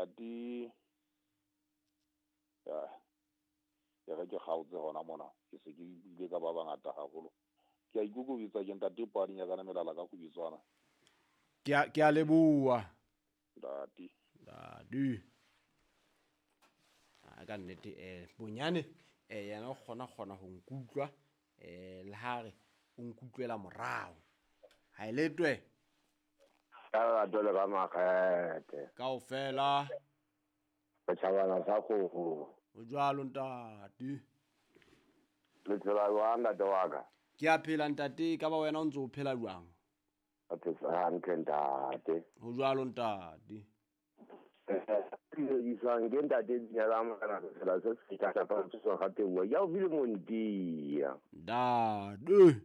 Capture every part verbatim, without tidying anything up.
Ntate ya ke re ke kgaotse hona mona, ke se ke buile ka ba bangata haholo. Ke a ikokobetsa ke ntate Padi nyakana melala ka kgubitswana. Ke a ke a leboha. Ntate. Ntate. A ka nnete eh bonyane eh yena o kgona kgona ho nkutlwa eh le ha re o nkutlwela morao. Ha e letwe. Ka lerato le ka makgethe. Kaofela. Setjhabana sa kgoho. O jwalo ntate. Le phela jwang ntate wa ka? Ke a phela ntate, ka ba wena o ntse o phela jwang? Ke phela hantle ntate. Ho jwalo ntate. Isang ke ntate Dinela Morena sela se se ka tsa tsosa gape bua. Ya o bile montia. Ntate.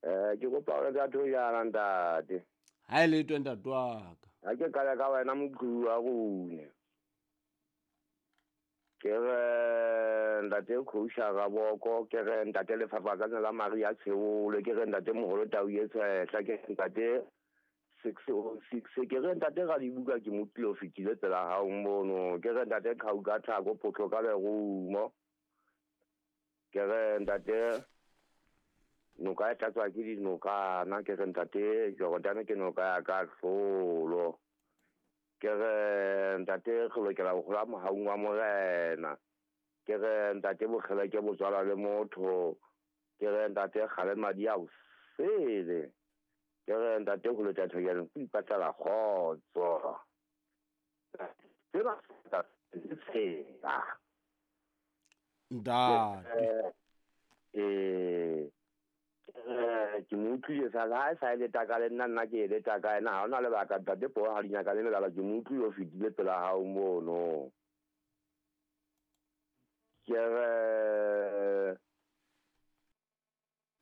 Eh ke kopa hore ka thojana ntate. Ha e letwe ntate wa ka. Ha ke qala ka wena moqhubu wa rona. Ke re ntate Khousha Raboko, ke re ntate Lefafatsane la Maria Tsheole, ke re ntate Moholo Tau e Tshehla, ke re ntate six oh six, ke re ntate Radibuka ke mo tlilo fetile tsela hao mono, ke re ntate Qhauka Thako Photlo ka lerumo, ke re ntate noka e tlatswa ke dinokana, ke re ntate Jordan ke noka ya ka hlolo, ke re ntate re lokela ho hola mohaung wa Morena, ke re ntate bokgele ke botswala le motho, ke re ntate kgale madi a o sele, ke re ntate ho leta thojana ke ipatlela kgotso. Tsena tsela. Ntate. Eh ke mo utlwile sa ha e sa e leta ka le nna nna ke e leta ka ena, ha hona lebaka ntate po ha di nyaka le melala, ke mo utlwile o fetile pela hao mono. Ke re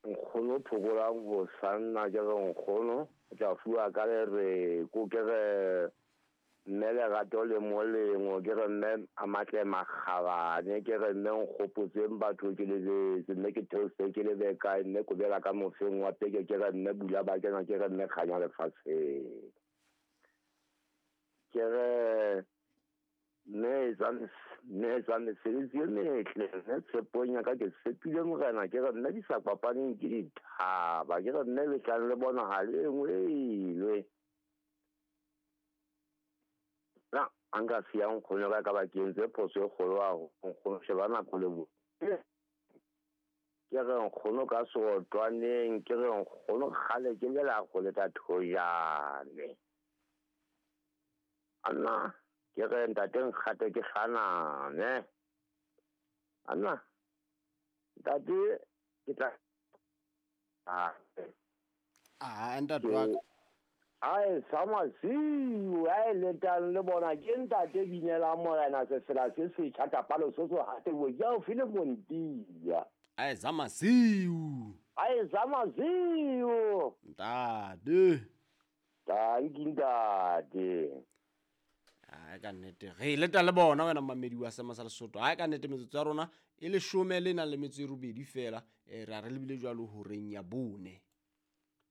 nkgono phokolang ho sanna, ke re nkgono o tla fuwa ka lereko, ke re mme lerato le molemo, ke re mme a matle makgabane, ke re mme nkgopotseng batho ke lebetse, mme ke theose ke lebe kae, mme kobela ka mofeng wa peke, ke re mme bula ba kena, ke re mme kganya lefatsheng. Ke re mme etsa mme etsa mesebetsi e metle, mme tshepong ya ka ke tshepile Morena, ke re mme di sa kopaneng ke dithaba, ke re mme letlang le bona ha le engwelwe. Na a nka siya nkgono ka ka ba ke entse phoso e kgolo haholo, nkgono sheba nako le bo. Ke re nkgono ka seotlwaneng, ke re nkgono kgale ke lela go leta thojane. Anna ke re ntate nkgate ke hlaname. Anna ntate ke tla Ah ntate wa ka. Ae samasiu, ae letang le bona ke ntate Binela Morena sefela se setjha kapalo se so hate bo ya o file montia. Ae samasiu. Ae samasiu. Ntate. Tanki ntate. Ai ka nnete re leta le bona wena mamedi wa Sema sa Lesotho. Ai ka nnete metsotso ya rona e leshome le nang le metso e robedi fela, eh ra re lebile jwalo horeng ya bone.